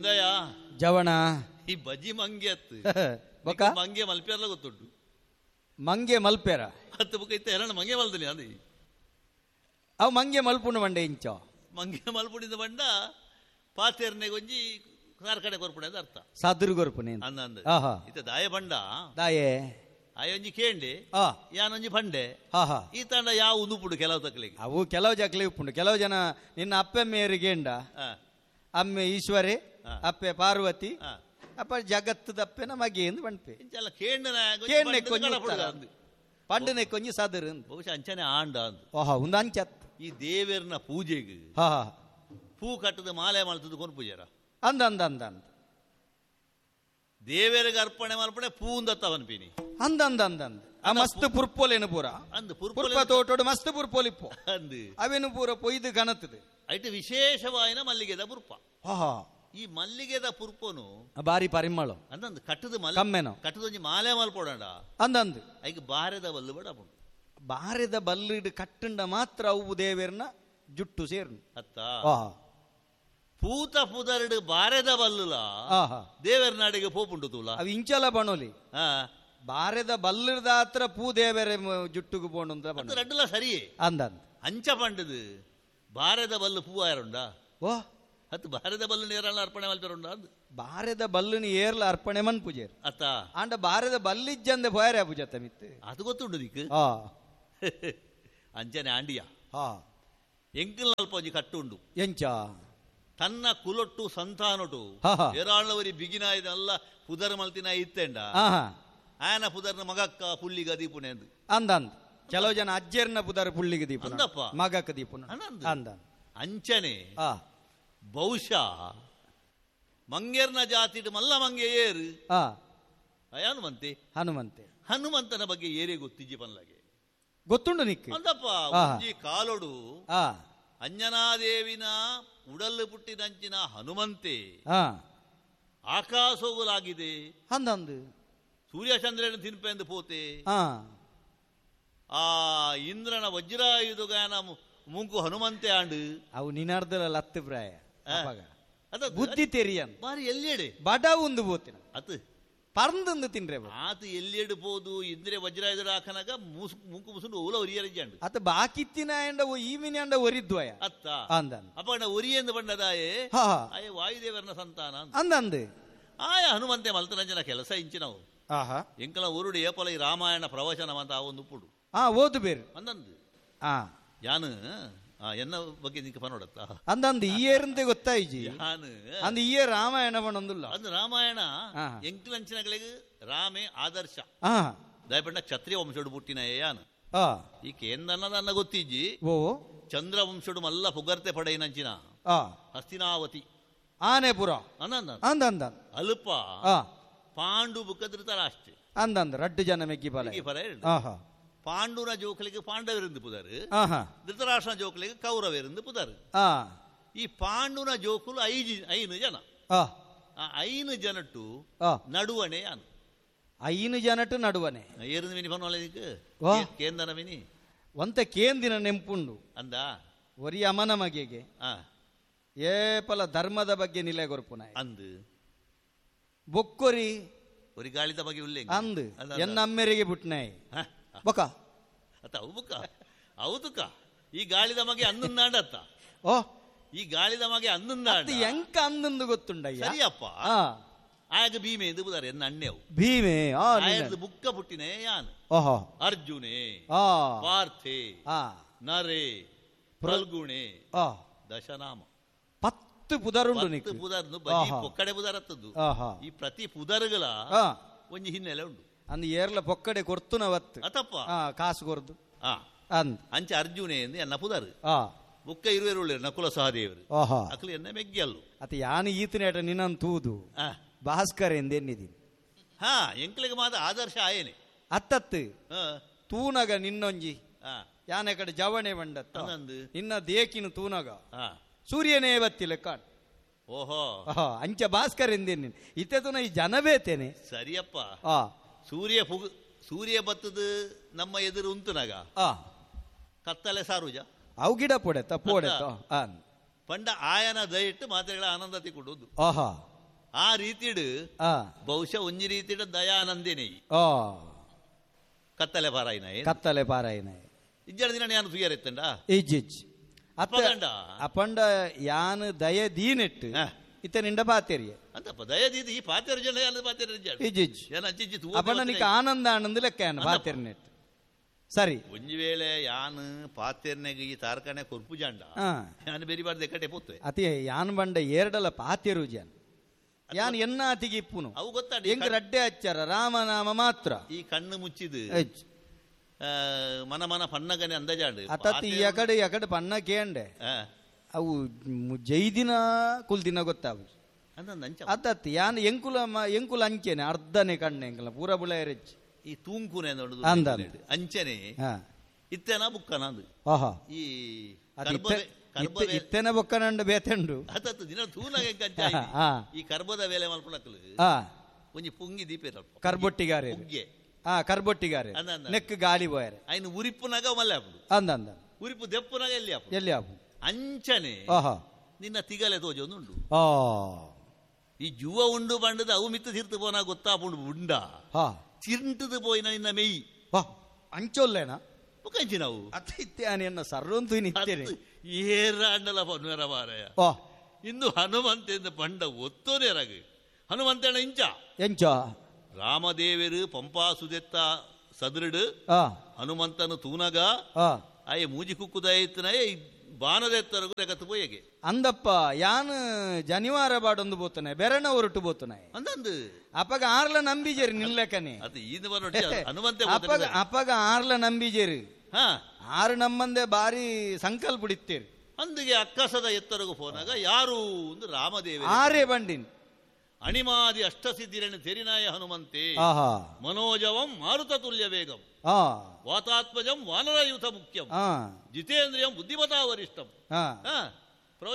ಇಂದಯ ಜವಣ ಈ ಬಜಿ ಮಂಗೆ ಅತ್ತು ಬೊಕ ಮಂಗೆ ಮಲ್ಪೆರ್ಲ ಗೊತ್ತುಂಟು. ಮಂಗೆ ಮಲ್ಪೆರ ಹತ್ತು ಬುಕ್ಕ ಇತ್ತ ಎರಡ ಮಂಗೆ ಮಲ್ತನಿ ಅಂದಿ. ಅವು ಮಂಗೆ ಮಲ್ಪುಂಡು ಮಂಡೆ ಇಂಚ ಮಂಗೆ ಮಲ್ಪುಡಿದ ಬಂಡ ಪಾತೇರ್ನೆ ಗೊಂಜಿ ಸಾರ್ಕಡೆ ಕೊರ್ಪುಣೆ ಅಂತ ಅರ್ಥ. ಸಾದುರು ಕೊರ್ಪುಣೆ ಅಂದ ಅಂದ ಇತ್ತ ದಾಯ ಬಂಡ ದಾಯೆ ಆಯೊಂಜಿ ಕೇಂಡೆ ಯಾನೊಂಜಿ ಪಂಡೆ ಈ ತಂಡ ಯಾವ ಉದುಪುಡು ಕೆಲವು ತಕ್ಲಿಗೆ ಅವು ಕೆಲವು ಜಕ್ಲಿ ಉಪ್ಪುಂಡು. ಕೆಲವು ಜನ ನಿನ್ನ ಅಪ್ಪೆ ಮೇರಿಗೆ ಅಮ್ಮೆ ಈಶ್ವರೇ ಅಪ್ಪೆ ಪಾರ್ವತಿ ಅಪ್ಪ ಜಗತ್ತದ ಅಪ್ಪೆನ ಮಗೆ ಎಂದು ಪಂಪೆ ಕೇಂಡೆ ಪಂಡನೆ ಕೊಂಜಿ ಸಾದರು ಬಹುಶಃ ಅಂಚನೆ ಆಂಡ ಅಂದು. ಓಹೋ ಒಂದು ಅಂಚತ್ ಈ ದೇವರನ ಪೂಜೆಗೆ ಪೂ ಕಟ್ಟದ ಮಾಲೆ ಮಾಡ್ತದ ಕೊನ್ ಪೂಜಾರ ಅಂದ ಅಂದ ಅಂದ ಅಂದ ದೇವರಿಗೆ ಅರ್ಪಣೆ ಮಲ್ಪಣೆ ಪೂಂದತ್ತ ಅನ್ಪಿನಿ ಅಂದ ಅಂದ ಅಂದ ಅಂದ ಆ ಮಸ್ತ್ ಪುರ್ಪೋಲೇನು ಪೂರ ಅಂದ್ ಪುರ್ಪ ತೋಟೋಡು ಮಸ್ತ್ ಪುರ್ಪೋಲಿಪ್ಪು ಅಂದು ಅವೇನು ಪೂರ ಪೊಯ್ದು ಕನತದೆ ಐಟ್ ವಿಶೇಷವಾಯಿನ ಮಲ್ಲಿಗೆದ ಪುರ್ಪ. ಈ ಮಲ್ಲಿಗೆದ ಪುರ್ಪನು ಬಾರಿ ಪರಿಮಳ ಅಂದಂದು ಕಟ್ಟದ ಮಲ್ಲ ಕಮ್ಮೆನೋ ಕಟ್ಟದೊಂಜಿ ಮಾಲೆ ಮಲ್ಪೋಡಂಡ ಅಂದಂದು ಐಕ್ ಬಾರೆದ ಬಲ್ಲು ಬಡ ಬಾರೆದ ಬಲ್ಲಿಡು ಕಟ್ಟಂಡ ಮಾತ್ರ ಅವು ದೇವೇರ್ನ ಜುಟ್ಟು ಸೇರ್ನು ಅತ್ತ ಪೂತ ಪುದರ್ಡು ಬಾರೆದ ಬಲ್ಲುಲ ದೇವರ ನಾಡಿಗೆ ಪೋಪುಂಡು ತೂಲ ಅವು ಇಂಚಲ ಬಣೋಲಿ ಬಾರೆದ ಬಲ್ಲದ ಹತ್ರ ಪೂ ದೇವರ ಜುಟ್ಟುಗು ಪೋಂಡು ಅಂತ ರಡ್ಡುಲ ಸರಿ ಅಂದಂದು ಅಂಚ ಪಂಡದು ಬಾರೆದ ಬಲ್ಲು ಪೂ ಆರುಂಡ ಓ ಹತ್ತು ಬಾರೆದ ಬಲ್ಲು ನೇರಲ್ಲ ಅರ್ಪಣೆ ಮಲ್ಪೆರುಂಡ ಅಂದು ಬಾರೆದ ಬಲ್ಲುನಿ ಏರ್ಲ ಅರ್ಪಣೆ ಮನ್ ಪೂಜೆ ಅತ್ತ ಆಂಡ ಬಾರೆದ ಬಲ್ಲಿಜ್ಜಂದೆ ಪೋಯರೆ ಪೂಜೆ ಮಿತ್ತು ಅದು ಗೊತ್ತುಂಡು ದಿಕ್ಕು ಅಂಚನೆ ಆಂಡಿಯ ಎಂಕಲ್ ಅಲ್ಪ ಒಂಜಿ ಕಟ್ಟುಂಡು ಎಂಚ ತನ್ನ ಕುಲೊಟ್ಟು ಸಂತಾನೊಟ್ಟು ಏರಾಳವರಿ ಬಿಗಿನಾಯ್ದಲ್ಲ ಪುದರ್ ಮಲ್ತಿನ ಇತ್ತೆಂಡ ಆಯನ ಪುದರ್ನ ಮಗಕ್ಕ ಪುಲ್ಲಿಗ ದೀಪುನೆ ಅಂದು ಅಂದ ಅಂದ ಕೆಲವು ಜನ ಅಜ್ಜರ್ನ ಪುದರ್ ಪುಳ್ಳಿಗೆ ದೀಪುನ ಅಂದಪ್ಪ ಮಗಕ್ಕ ದೀಪುನ ಅಂದ ಅಂಚನೆ ಬಹುಶಃ ಮಂಗೇರ್ನ ಜಾತಿಡು ಮಲ್ಲ ಮಂಗೆ ಏರು ಹನುಮಂತೆ ಹನುಮಂತೆ ಹನುಮಂತನ ಬಗ್ಗೆ ಏರೇ ಗೊತ್ತಿಜ್ಜಿ ಪನ್ಲಾಗೆ ಗೊತ್ತುಂಡು ನಿಕ್ ಅಂದಪ್ಪ ಒಂಜಿ ಕಾಲೊಡು ಅಂಜನಾದೇವಿನ ಉಡಲ್ಲು ಪುಟ್ಟಿನಂಚಿನ ಹನುಮಂತೆ ಆಕಾಶೋಗುಲಾಗಿದೆ ಅಂದಂದು ಸೂರ್ಯಚಂದ್ರನ ತಿನ್ಪೆಂದು ಪೋತೆ ಆ ಇಂದ್ರನ ವಜ್ರಾಯುಧಗಾನ ಮುಂಕು ಹನುಮಂತೆ ಆಂಡು ಅವು ನಿನಾರ್ದಲ ಲತ್ತು ಪ್ರಾಯ ಬುದ್ಧಿ ತೆರಿಯನ್ ಬಾರಿ ಎಲ್ಲೆಡೆ ಬಡ ಒಂದು ಪೋತಿನ ಅತ್ ಪರ್ಂದು ತಿನ್ರೆ ಆತ ಎಲ್ಲೆಡು ಪೋದು ಇಂದ್ರೆ ವಜ್ರಾಯುಧ ಹಾಕನಾಗ ಮುಂಕು ಮುಸುಂಡು ಓಲ ಒರಿಯರಜ್ಜಾಂಡು ಅತ ಬಾಕಿತ್ತಿನ ಅಂಡ ಈ ಮಿನಿ ಅಂಡ ಒರಿದ್ವಯ ಅತ್ತ ಅಂದ ಅಪ್ಪ ಒರಿಯೆಂದು ಬಂಡದಾಯೇ ಆಯೆ ವಾಯುದೇವರನ ಸಂತಾನ ಅಂದಂದು ಆಯ ಹನುಮಂತೆ ಮಲ್ತನಂಜನ ಕೆಲಸ ಇಂಚಿನವು ಎಂಕಲ ಊರುಡು ಏಪಲ ಈ ರಾಮಾಯಣ ಪ್ರವಚನ ಅಂತ ಆ ಒಂದು ಉಪ್ಪುಡು ಓದು ಬೇರೆ ಅಂದಂದು ಯಾನು ಎನ್ನ ಬಗ್ಗೆ ನಿಂಗೆ ಪನೋಡತ್ತ ಅಂದಂದು ಈ ಏರಂತೆ ಗೊತ್ತಾಯ್ಜಿ ಯಾನು ಅಂದ ಈ ರಾಮಾಯಣ ಪಣೊಂದುಲ್ಲ ಅಂದು ರಾಮಾಯಣ ಎಂಕಲಂಚಿನಗಳಿಗೆ ರಾಮೇ ಆದರ್ಶ ದಯಪಂಡ ಕ್ಷತ್ರಿಯ ವಂಶಡು ಪುಟ್ಟಿನ ಯಾನು ಈ ಕೇಂದ್ರನ್ನ ಗೊತ್ತಿಜ್ಜಿ ಓ ಚಂದ್ರ ವಂಶಡು ಮಲ್ಲ ಪುಗರ್ತೆ ಪಡೆಯಿನಂಚಿನ ಹಸ್ತಿನಾವತಿ ಆನೆಪುರ ಅಂದಂದ ಅಂದಂದ ಅಲ್ಪ ಪಾಂಡು ಬುಕ್ಕ ಧೃತರಾಷ್ಟ್ರ ಅಂದಂದ ರಡ್ಡು ಜನ ಮೆಗ್ಗಿ ಫಲ ಪಾಂಡುನ ಜೋಕಲಿಗೆ ಪಾಂಡವರಿಂದ ಪುದಾರು, ಧೃತರಾಷ್ಟ್ರನ ಜೋಕಲಿಗೆ ಕೌರವರಿಂದ ಪುದಾರು. ಈ ಪಾಂಡುನ ಜೋಕುಲು ಐನು ಜನ, ಆ ಐನು ಜನಟ್ಟು ನಡುವಣೆ ಯಾನು ಐನು ಜನಟ್ಟು ನಡುವನೆ ಏರಿಂದ ಮಿನಿ ಪನ್ನುವಲ್ಲ ಕೇಂದನ ಮಿನಿ ಒಂತ ಕೇಂದಿನ ನೆಂಪುಂಡು ಅಂದ ಒರಿ ಅಮನ ಮಗೆಗೆ ಏಪಲ ಧರ್ಮದ ಬಗ್ಗೆ ನಿಲೆ ಕೊರ್ಪುನ ಅಂದು ಬೊಕ್ಕೊರಿ ಒರಿ ಗಾಳಿದ ಬಗ್ಗೆ ಉಲ್ಲೇಖ ಅಂದು ಎನ್ನ ಅಮ್ಮೆರಿಗೆ ಬುಟ್ನಾಯಿ ಬೊಕ ಅತ್ತ ಅವು ಬುಕ್ಕ ಹೌದುಕ ಈ ಗಾಳಿದ ಮಗೆ ಅಂದಂದಾಂಡತ್ತ ಓ ಈ ಗಾಳಿದ ಮಗೆ ಅಂದಂದಾಂಡ ಎಂಕ ಅಂದಂದು ಗೊತ್ತುಂಡಯ್ಯ ಸರಿಯಪ್ಪ ಆಗ ಭೀಮೆ ಎಂದು ಬುದಾರೆ ಎನ್ನ ಅಣ್ಣೆವು ಭೀಮೆ ಆಯರ್ದು ಬುಕ್ಕ ಪುಟ್ಟಿನೇ ಯಾನು ಓಹೋ ಅರ್ಜುನೆ ಪಾರ್ಥೆ ನರೆ ಫಲ್ಗುಣೆ ದಶನಾಮ 10 ಪುದರುಂಡು ಪುದರ್ನು ಬಜಿ ಪೊಕ್ಕಡೆ ಪುದರತ್ತದ್ದು ಈ ಪ್ರತಿ ಪುದರುಗಳ ಒಂಜಿ ಹಿನ್ನೆಲೆ ಉಂಡು ಅಂದ್ ಏರ್ಲ ಪೊಕ್ಕಡೆ ಕೊರ್ತುನ ವತ್ತು ಅತಪ್ಪ ಕಾಸು ಕೊರ್ದು ಅಂದ್ ಅಂಚೆ ಅರ್ಜುನೆ ಎಂದು ಎನ್ನ ಪುದರ್ ಬುಕ್ಕ ಇರುವೆರುಳ್ಳಿ ನಕುಲ ಸಹದೇವರು ಅಕಲು ಎನ್ನ ಮೆಗ್ಗಿಯಲ್ಲು ಅತ ಯಾನು ಈತನೇಟ ನಿನ್ನನ್ ತೂದು ಭಾಸ್ಕರ್ ಎಂದೆನ್ನಿದೀನಿ ಹಾ ಎಂಕ್ಲಿಗೆ ಮಾತ್ರ ಆದರ್ಶ ಆಯೇನೆ ಅತ್ತತ್ತು ತೂನಗ ನಿನ್ನೊಂಜಿ ಯಾನೆ ಕಡೆ ಜವಣೆ ಬಂಡತ್ತ ನಿನ್ನ ದೇಕಿನ ತೂನಗ ಸೂರ್ಯನೇ ಬತ್ತಿಲ್ಲ ಕಾಣ್ ಓಹೋ ಅಂಚ ಭಾಸ್ಕರ್ ಎಂದೇನಿ ಇತ್ತೆ ತುನ ಈ ಜನ ಬೇತೇನೆ ಸರಿಯಪ್ಪ ಸೂರ್ಯ ಸೂರ್ಯ ಬತ್ತದ ನಮ್ಮ ಎದುರು ಉಂತುನಾಗ ಕತ್ತಲೆ ಸಾರುಜ ಅವು ಗಿಡ ಪೊಡೆತ ಪೋಡೆತ ಪಂಡ ಆಯನ ದಯಿಟ್ಟು ಮಾತ್ರೆಗಳ ಆನಂದ ತಿಕ್ಕೊಂಡು ಆಹಾ. ಆ ರೀತಿಡ್ ಬಹುಶಃ ಒಂಜಿ ರೀತಿಡ್ ದಯಾನಂದಿನಿ ಕತ್ತಲೆ ಪಾರಾಯಿನ ಕತ್ತಲೆ ಪಾರಾಯಿನ ಇಜ್ಜಡ ದಿನ ಯಾನು ತುಯರೆತ್ತಂಡ ಇಜ್ಜಿಜ್ ಅಪ್ಪಂಡ ಅಪ್ಪಂಡ ಯಾನು ದಯ ದೀನೆಟ್ಟು ಇತ್ತ ನಿಂಡ ಪಾತೆರಿಯ ಅಂತಪ್ಪ ದಯ ದೀದಿ ಈ ಪಾತೆರ ಜನ ಯಾನು ಪಾತೆರ ಇಜ್ಜಿಜ್ ಅಪ್ಪಂಡ ನಿಕ್ಕ ಆನಂದ ಆನಂದ ಲೆಕ್ಕ ಯಾನು ಪಾತೆರ್ನೆಟ್ಟು ಸರಿ ಒಂಜಿ ವೇಳೆ ಯಾನು ಪಾತೆರ್ನೆಗೆ ಈ ತಾರಕನೆ ಕೊರ್ಪು ಜಾಂಡ ಯಾನು ಬೇರಿ ಬಾರ್ದು ಎಕ್ಕಟೆ ಪೋತ್ವೆ ಅತಿ ಯಾನ್ ಬಂಡ ಏರ್ಡಲ ಪಾತೆರು ಜಾನ್ ಯಾನ್ ಎನ್ನ ಅತಿಗೆ ಇಪ್ಪುನು ಅವು ಗೊತ್ತಾಡ ಹೆಂಗ್ ರಡ್ಡೆ ಹಚ್ಚಾರ ರಾಮನಾಮ ಮಾತ್ರ ಈ ಕಣ್ಣು ಮುಚ್ಚಿದು ಮನ ಮನ ಪನ್ನಗನೆ ಅಂದಾಜಾಂಡು ಅತತ್ ಎಕಡೆ ಎಕಡೆ ಪನ್ನ ಕೇಂಡೆ ಅವು ಜೈದಿನ ಕುಲ್ದಿನ ಗೊತ್ತಾವು ಅತ್ತತ್ ಯಾನ್ ಎಂಕುಲ ಎಂಕುಲ ಅಂಚೆನೆ ಅರ್ಧನೆ ಕಣ್ಣೆ ಎಂಕಲ ಪೂರ ಬುಳ ಎರೆಚ್ಚಿ ಈ ತೂಂಕುನೆ ಅಂದ ಅಂಚನೆ ಇತ್ತೆನ ಬುಕ್ಕನ ಈ ಇತ್ತೆನ ಬೊಕ್ಕನಂಡು ಬೇತೆಂಡು ದಿನ ತೂನಾಗ ಈ ಕರ್ಬದ ವೇಲೆ ಮಲ್ಪುಣಕಲು ಒಂಜಿ ಪುಂಗಿ ದೀಪೆ ಕರ್ಬೊಟ್ಟಿಗಾರೆ ಕರ್ಬೊಟ್ಟಿಗಾರೆ ನೆಕ್ ಗಾಳಿ ಬೋಯರೆ ಐನು ಉರಿಪುನಾಗ ಮಲ್ಲೆ ಆಪುಂಡು ಅಂದ ಅಂದ ಉರಿಪು ದೆಪ್ಪುನಾಗ ಎಲ್ಲಿ ಆಪು ಎಲ್ಲಿ ಆಪು ಅಂಚನೆ ನಿನ್ನ ತಿಗಲೆ ತೋಜೊಂದುಂಡು ಈ ಜುವ ಉಂಡು ಬಂಡದ ಅವು ಮಿತ್ತು ತಿರ್ತು ಪೋನ ಗೊತ್ತಾಪುಂಡು ಉಂಡ ಚಿಂಟದು ಪೋಯಿನ ನಿನ್ನ ಮೆಯ್ ಅಂಚೊಲ್ಲೇನ ಕಂಚಿ ನಾವು ಅತ್ತ ಸರ್ವಂತು ಏರಾಂಡಲ ಪನ್ವೇರ ಮಾರಾಯ ಇಂದು ಹನುಮಂತೆಂದು ಪಂಡ ಒತ್ತೋನೇರಾಗ ಹನುಮಂತನ ಇಂಚ ಎಂಚ ರಾಮದೇವರು ಪಂಪಾ ಸುದೆತ್ತ ಸದೃಡು ಹನುಮಂತನು ತೂನಗ ಆಯೆ ಮೂಜಿ ಕುಕ್ಕುದಾಯತ್ನಾಯ ಬಾನದೆತ್ತರಗು ರೆಗತ್ತು ಪೋಯಗೆ ಅಂದಪ್ಪ ಯಾನ್ ಜನಿವಾರ ಬಾಡೊಂದು ಬೋತನೆ ಬೆರಣ ಹೊರಟು ಬೋತನೆ ಅಂದಂದು ಅಪಗ ಆರ್ಲ ನಂಬಿಜೇರಿ ನಿಲ್ಲಕನೆ ಅದು ಈಂದು ಹನುಮಂತೆ ಅಪಗ ಅಪಗ ಆರ್ಲ ನಂಬಿಜೇರಿ ಆರು ನಮ್ಮಂದೆ ಬಾರಿ ಸಂಕಲ್ಪ ಇತ್ತೇರಿ ಅಂದಿಗೆ ಅಕ್ಕಸದ ಎತ್ತರಗು ಫೋನಾಗ ಯಾರು ಒಂದು ರಾಮದೇವ ಆರೇ ಬಂಡಿನ್ ಅಣಿಮಾದಿ ಅಷ್ಟಸಿದ್ಧಿರನ್ನು ತೆರಿನಾಯ ಹನುಮಂತೆ ಮನೋಜವಂ ಮಾರುತ ತುಲ್ಯ ವೇಗಂ ವಾತಾತ್ಮಜಂ ವಾನರಯೂಥ ಮುಖ್ಯಂ ಜಿತೇಂದ್ರಿಯಂ ಬುದ್ಧಿಮತಾ ವರಿಷ್ಠಂ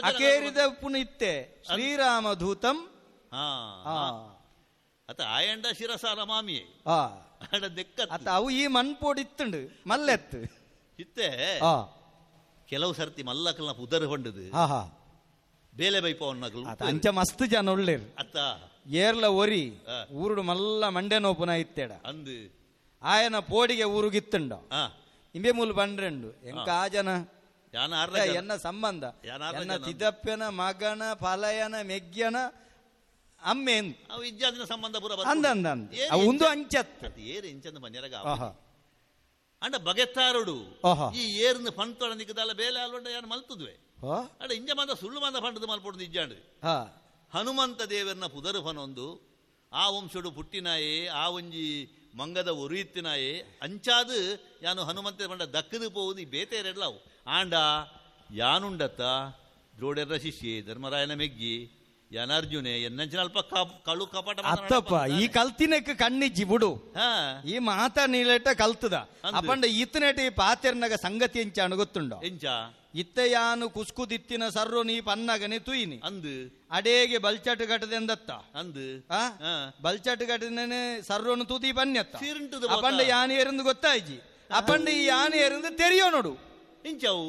ಅಕೇರಿದ ಪುನಿತ್ತೆ ಶ್ರೀರಾಮ ದೂತಂ ಅತ ಆಯಂಡ ಶಿರಸ ರಮಾಮಿಯೇ ಅತ ಅವು ಈ ಮನ್ಪೋಡಿತ್ತುಂಡು ಮಲ್ಲೆತ್ತು ಇತ್ತೆ ಕೆಲವು ಸರ್ತಿ ಮಲ್ಲಕಲ್ನ ಪುದರ್ ಹೊಂಡದು ಬೇಲೆ ಬೈಪವನ್ನಕಲು ಅಂಚ ಮಸ್ತ್ ಜನ ಒಳ್ಳೇರು ಅತ್ತ ಏರ್ಲ ಒರಿ ಊರುಡು ಮಲ್ಲ ಮಂಡೆ ನೋಪುನ ಇತ್ತೇಡ ಅಂದು ಆಯನ ಪೋಡಿಗೆ ಊರುಗಿತ್ತುಂಡ ಇಂಬೆ ಮೂಲು ಬಂಡ್ರೆಂಡು ಎಂಕ ಆ ಜನ ಎನ್ನ ಸಂಬಂಧ ಎನ್ನ ತಿದಪ್ಪನ ಮಗನ ಫಲಯನ ಮೆಗ್ಯನ ಅಮ್ಮೆ ಸಂಬಂಧ ಅಂದ ಅಂದ ಒಂದು ಅಂಚತ್ ಏರು ಇಂಚಂದ ಮನ್ಯರಗ ಅಂಡ ಬಗೆತ್ತಾರುಡು ಈ ಏರ್ನ ಪಂತೊಡ ನಿಕ್ಕದಲ್ಲ ಬೇಲೆ ಅಲ್ವಂಡ ಯಾರು ಮಲ್ತದ್ವೆ ಅಡ ಇಂಜ ಮಂದ ಸುಳ್ಳು ಮಂದ ಪಂಡದ ಮಲ್ಪೊಡು ಇಜ್ಜಾಂಡು ಹನುಮಂತ ದೇವರನ್ನ ಪುದರು ಫನೊಂದು ಆ ವಂಶಡು ಪುಟ್ಟಿನಾಯೇ ಆ ಒಂಜಿ ಮಂಗದ ಒರುಯಿತ್ತಿನಾಯೇ ಅಂಚಾದು ಯಾನು ಹನುಮಂತ ಪಂಡ ದಕ್ಕದು ಪೋವುದು ಈ ಬೇತೆರೆಲ್ಲವು ಆಂಡ ಯಾನುಂಡತ್ತ ದ್ರೋಡೆರ ಶಿಷ್ಯೆ ಧರ್ಮರಾಯನ ಮೆಗ್ಗಿ ಯಾನಾರ್ಜುನೆ ಎನ್ನಂಚಿನ ಅಲ್ಪ ಕಳು ಕಪಟ ಅತ್ತಪ್ಪ ಈ ಕಲ್ತಿನಕ್ಕೆ ಕಣ್ಣಿಜ್ಜಿ ಬಿಡು ಈ ಮಾತಾ ನೀಲೇಟ ಕಲ್ತದ ಅಪಂಡ ಈತನೇಟ ಈ ಪಾತೆರ್ನಗ ಸಂಗತಿ ಎಂಚಾಣ ಗೊತ್ತುಂಡು ಎಂಚ ಇತ್ತ ಯಾನು ಕುಸ್ಕುದಿತ್ತಿನ ಸರ್ರೋ ನೀ ಪನ್ನಗನೆ ತುಯಿನಿ ಅಂದು ಅಡೇಗೆ ಬಲ್ಚಾಟು ಘಟದೆಂದತ್ತ ಅಂದು ಬಲ್ಚಾಟು ಘಟನೆ ಸರ್ರೋನು ತೂತಿ ಪನ್ಯತ್ತ ಅಪಂಡ ಯಾನು ಎರಂದು ಗೊತ್ತಾಯ್ಜಿ ಅಪಂಡ ಈ ಯಾನು ಎರಂದು ತೆರಿಯೋ ನೋಡು ಇಂಚವು